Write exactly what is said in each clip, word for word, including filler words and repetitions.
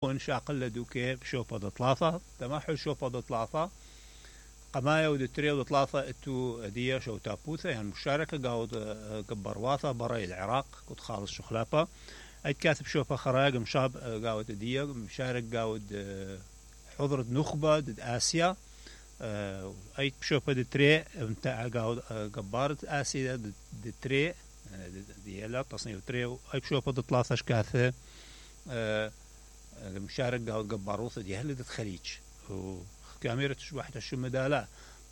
شاقل دوكي بشوفة د ثلاثة تمحل شوفة د ثلاثة قماية ود تري ود ثلاثة اتو دية شو تابوثة يعني مشاركة قاود قبرواثة براي العراق كنت خالص شخلافة اي كاتب شوفة خراج مشاب قاود دية مشارك قاود حضرة نخبة دد آسيا اي بشوفة د تري متاع قاود قبارة آسيا د تري دي لا تصنيف تري اي بشوفة د ثلاثة شكاثة مشارك قاود قباروثة دي هل الخليج وكاميرا تشبح تشو مدالا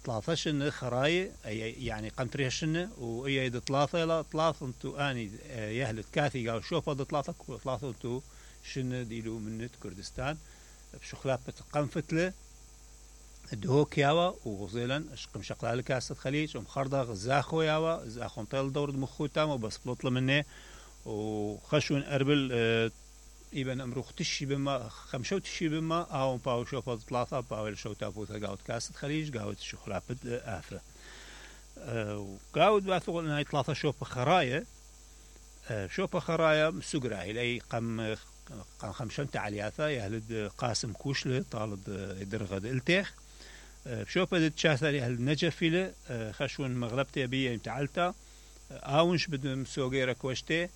ثلاثة شن خراي يعني قنطريها شن وإيا دي ثلاثة لا ثلاثة انتو اني يهلت كاثي قاو شوفة دي ثلاثة ثلاثة انتو شن ديلو منت كردستان بشخلابة قنفتلة دهوك ياوا وغزيلا اشقم شقلال كاسة خليج ومخرضة زاخو ياوا زاخو نطيل دور مخوتام وبس بلطل منه وخشون اربل اه إبن أمرخ تشي بما خمسة تشي بما أو باو شوفة ثلاثة باو شو تابوثة قاود كاسة خليج قاود شخلابة آفة أه قاود باثقول إنها ثلاثة شوفة خرايا أه شوفة خرايا مسجراهي لأي قم قم خمسة تعلياثة يهلد قاسم كوشلة طالد درغد التيخ أه شوفة تشاثر يهلد نجفيلة أه خشون مغلبتي بيه متعلتا أونش بدم سوغيرا كوشتي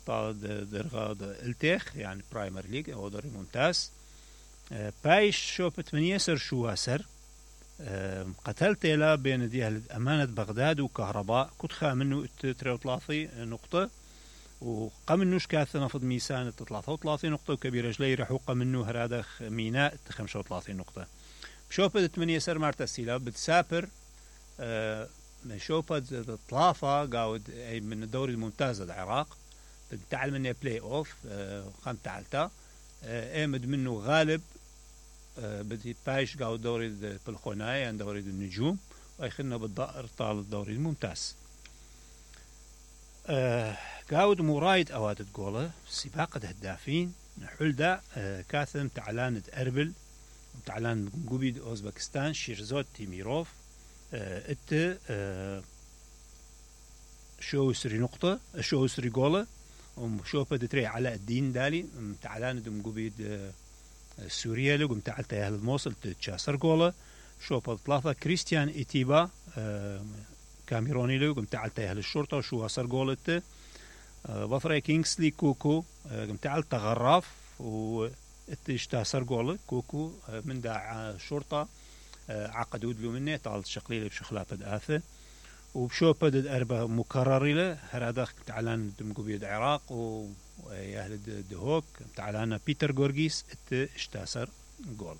طالد درغاد التيخ يعني برايمر ليج او دوري ممتاز بايش شوبة من يسر شو اسر قتلت لا بين دي امانة بغداد وكهرباء كنت خا منه تري وثلاثين نقطة وقم منوش كاث نفض ميسان ثلاثة وثلاثين نقطة وكبير جلي رحوق منه هرادة ميناء خمسة وثلاثين نقطة شوبة ثمانية يسر مارتسيلا بتسافر شوبة ثلاثة قاود من الدوري الممتاز العراق تعال منه بلاي اوف خم تعالتا امد منه غالب بدي بايش قاود دوري بالخوناي عن دوري النجوم ويخلنا بالضائر طال الدوري الممتاز قاود مرايد اواد تقوله سباق الهدافين حلدا كاثم تعلان اربل تعلان قبيد اوزبكستان شيرزوت تيميروف ات شو سري نقطة شو سري جوله وشوفة دتري على الدين دالي تعلان دم قبيد سوريا لقم تعلت أهل الموصل تشاسر جوله شوفة ثلاثة كريستيان إتيبا كاميروني لقم تعلت أهل الشرطة وشو أسر جولته بفري كينغسلي كوكو قم تعلت غراف وتشتاسر جوله كوكو من داع الشرطة عقدود له منه طال شقليله بشخلافة آثة وبشوفة أربعة مكرر له هذا تعلن دمقبيد العراق ويهل دهوك تعلن بيتر غورغيس ات اشتاسر جول